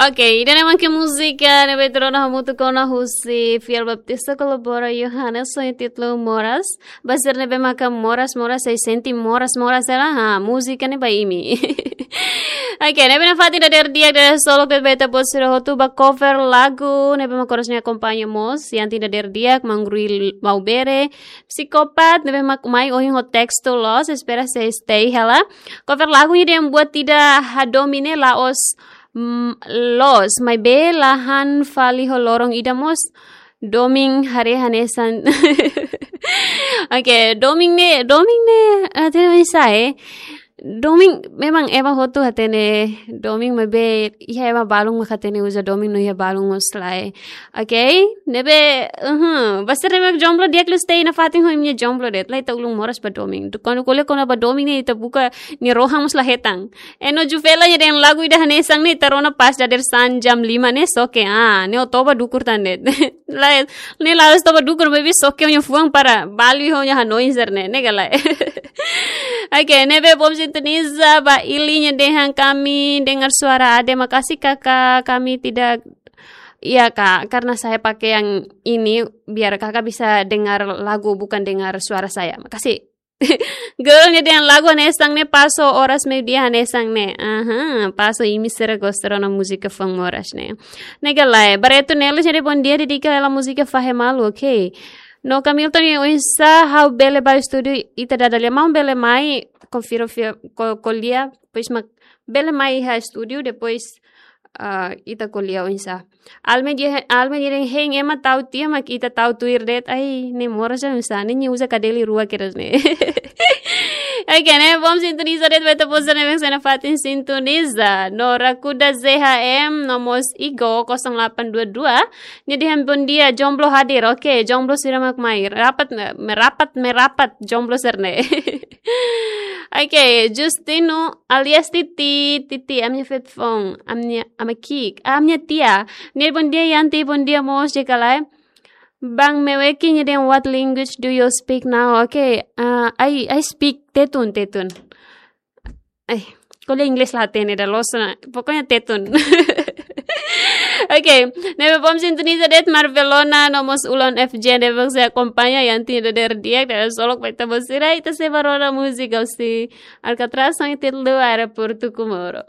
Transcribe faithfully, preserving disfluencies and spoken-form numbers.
Ok, ida-ne'e mak múzika ne'ebé ita rona hamutuk ona husi Fiel Baptista kolabora Yohanes ho títulu Moras. Ba sira ne'ebé maka moras, moras, sei sente moras, moras hela, ha, múzika ne'e ba imi. Ok, ne'ebé nafatin dadeer di'ak, dadeer solok de'it ba ita-boot sira hotu ba cover lagu ne'ebé mak oras ne'e akompaña mós, iha ita dadeer di'ak, Mangrui Maubere, Psikopat, ne'ebé mak mai ohin ho testu loos, espera sei stay hela. Cover lagu ida yang buat tidak hadomi ne'e la'ós, mm, loos, maibé la han fali ho loron ida mós. Domin haree hanesan. Ok, domin ne'e, domin ne'e, ah, tidak bisa, eh. Domin memang ema hotu hatene domin, maibé iha ema balun mak hatene uza domin no iha balun mós lae. Ok, ne'ebé, uhum, ba sira ne'ebé jomblo di'ak liu stay nafatin ho imi-nia jomblo de'it, la ita ulun moras ba domin. Kuandu ko'alia kona-ba domin ne'e ita buka nia rohan mós la hetan. E no Juvela nia dehan lagu ida hanesan ne'e ita rona pas dadeer-saan jam lima ne'e, xoke, ah, ne'e ó toba dukur tan de'it. Lae, ne'e la'ós toba dukur, maibé xoke nia fuan para balu iha nia hanoin sira-ne'e, ne'e ka lae. Ok, ne'ebé bom sintoniza ba Ili nia dehan kami dengar suara Ade, makasih kakak, kami tidak, iya kak, karena saya pakai yang ini biar kakak bisa dengar lagu bukan dengar suara saya. Makasih. Girl nia dehan lagu hanesan ne'e pas ho oras meiudia hanesan ne'e. Aha, pas ho imi sira gosta rona múzika foun moras ne'e. Ne'e ka lae, Barreto Nelis nia dehan bom dia, dedika hela múzika Fahe Malu, ok. No Camilton nia oinsá ha'u bele ba estúdiu, ita dada lia maun bele mai, konfirma fia-, ko-, ko'alia, depois mak bele mai iha estúdiu, depois, ah, ita ko'alia oinsá. Alme nia, Alme nia dehan hein ema tau tiha mak ita tau tuir de'it. Ai, ne'e moras ja nusa, ne'e nia uza kadeli rua kedas ne'e. Ok, ne'e bom sintoniza de'it ba ita-boot sira ne'ebé sei nafatin sintoniza. No Rakuda Z H M, no mós Igo kosong delapan dua dua. Nia dehan bom dia, jomblo hadir. Ok, jomblo sira mak mai. Rapat, me-, merapat, merapat, jomblo sira-ne'e. Ok, Justino alias Titi, Titi, ami-nia feto foun, ami-nia, ami-nia ki'ik, ami-nia tia. Nia bom dia, Yanti, bom dia, mós, di'ak ka lae. Bang Meweki nia dehan what language do you speak now? Ok, ah, I, I speak Tetun, Tetun. Ai, ko'alia inglés la hatene ida loos ona. Pokoknya Tetun. Ok, ne'ebé bom sintoniza de'it Marvelona, no mós Ulon F J, ne'ebé sei akompaña iha ita dadeer di'ak, dadeer solok ba ita-boot sira, ita sei ba rona múzika husi Alcatraz, ho títulu Aeroportu Comoro.